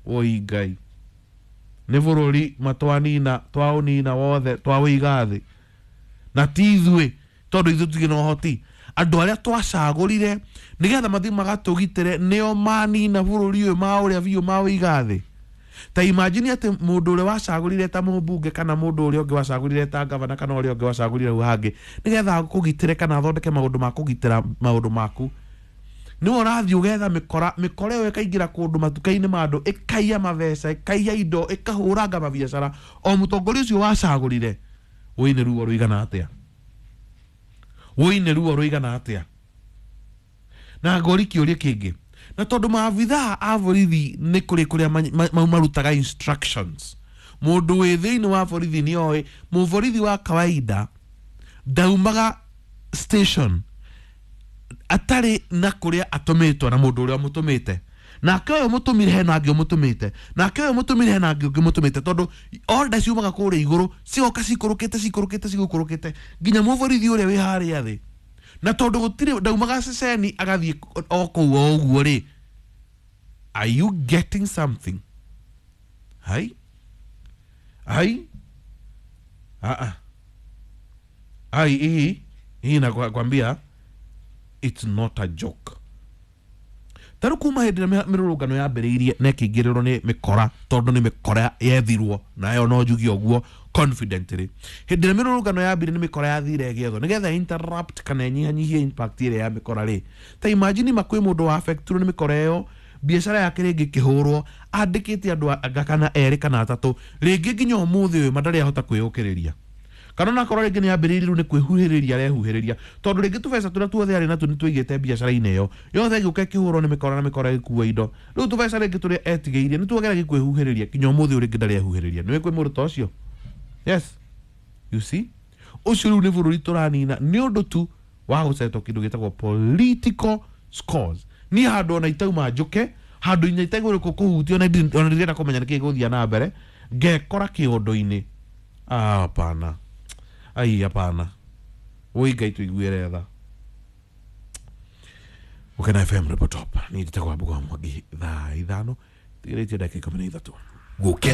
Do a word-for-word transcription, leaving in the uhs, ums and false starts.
Oi Ngai, nĩ bũrũri matwanina, twaũnina wothe, twaũiga thĩ na ti ithuĩ, tondũ ithuĩ tũtirĩ na ũhoti. Andũ arĩa twacagũrire nĩgetha mathiĩ magatũgitĩre nĩo manina bũrũri ũyũ, maũrĩa biũ, maũiga thĩ. Ta imagine atĩ mũndũ ũrĩa wacagũrire ta mũmbunge, kana mũndũ ũrĩa ũngĩ wacagũrire ta gavana, kana ũrĩa ũngĩ wacagũrire hau hangĩ nĩgetha akũgitĩre kana athondeke maũndũ ma kũgitĩra maũndũ maku, nĩwe ũrathiĩ ũgetha mĩkora. Mĩkora ĩyo ĩkaingĩra kũndũ matuka-inĩ ma andũ, ĩkaiya mabeca, ĩkaiya indo, ĩkahũranga mabiacara o mũtongoria ũcio wacagũrire. Wũi nĩ ruo rũigana atĩa? Wũi nĩ ruo rũigana atĩa? Na ngori kĩũria kĩngĩ, na tondũ maabithaa a borithi nĩ kũrĩ kũrĩa ma- ma- marutaga instructions, mũndũ wĩ thĩinĩ wa borithi nĩ oĩ mũborithi wa kawaida ndaumaga station atarĩ na kũrĩa atũmĩtwo na mũndũ ũrĩa ũmũtũmĩte, nake ũyũ mũtũmire hena angĩ ũmũtũmĩte, nake ũyũ mũtũmire hena angĩ ũngĩ mũtũmĩte, tondũ order ciumaga kũrĩa igũrũ, cigoka cikũrũkĩte, cikũrũkĩte, cigũkũrũkĩte nginya mũborithi ũrĩa wĩ harĩa thĩ. Na tondũ gũtirĩ ndaumaga ceceni agathiĩ o kũu o ũguo rĩ, are you getting something? Hai hai, ah ah, ai, hii hii nakwambia it's not a joke. Tarĩu kuma hĩndĩ ĩrĩa mĩrũrũngano yambĩrĩirie na ĩkĩingĩrĩrwo nĩ mĩkora, tondũ nĩ mĩkora yethirwo nayo, no njuge ũguo confidently, hĩndĩ ĩrĩa mĩrũrũngano yambire nĩ mĩkora yathire ĩgĩethwo nĩgetha interrupt kana ĩnyihanyihie impact ĩrĩa ya mĩkora rĩ. Ta imagine ma kwĩ mũndũ wa affectirwo nĩ mĩkora ĩyo, biacara yake rĩngĩ ĩkĩhũrwo, andĩkĩte andũ anga kana erĩ kana atatũ, rĩngĩ nginya ũmũthĩ ũyũ ma ndarĩ ahota kwĩyũkĩrĩria, kana onakorwo rĩngĩ nĩ ambĩrĩirie, rĩu nĩ kwĩhuhĩrĩria arehuhĩrĩria, tondũ rĩngĩ tũbeca tũrĩa tuothe arĩ natuo nĩ tũigĩte biacara-inĩ ĩyo yothe, ĩgĩũka ĩkĩhũrwo nĩ mĩkora na mĩkora ĩgĩkua indo. Rĩu tũbeca rĩngĩ tũrĩa etigĩirie nĩ tuogeragia kwĩhuhĩrĩria, nginya ũmũthĩ ũyũ rĩngĩ ndarĩ ehuhĩrĩria. Nĩũĩ kwĩ mũndũ ta ũcio? Yes, you see, ũcio rĩu nĩ bũrũri tũranina nĩ ũndũ tu wa gũcetwo kĩndũ gĩtagwo political scores. Niĩ handũ ona itauma njũke, handũ inya itaigũrĩ kũhutio, ona ndirĩ- ona ndirenda kũmenya nĩkĩ gĩgũthiĩ na mbere, ngekora kĩũndũ-inĩ. Ah, hapana, ai, hapana. Woi Ngai, tũiguĩre tha. Gũkena F M Report Top, niĩ njĩtagwo Wambugu wa Mwangi. Thaa ithano tigĩrĩtie ndagĩka ikũmi na ithatũ. Gũkena.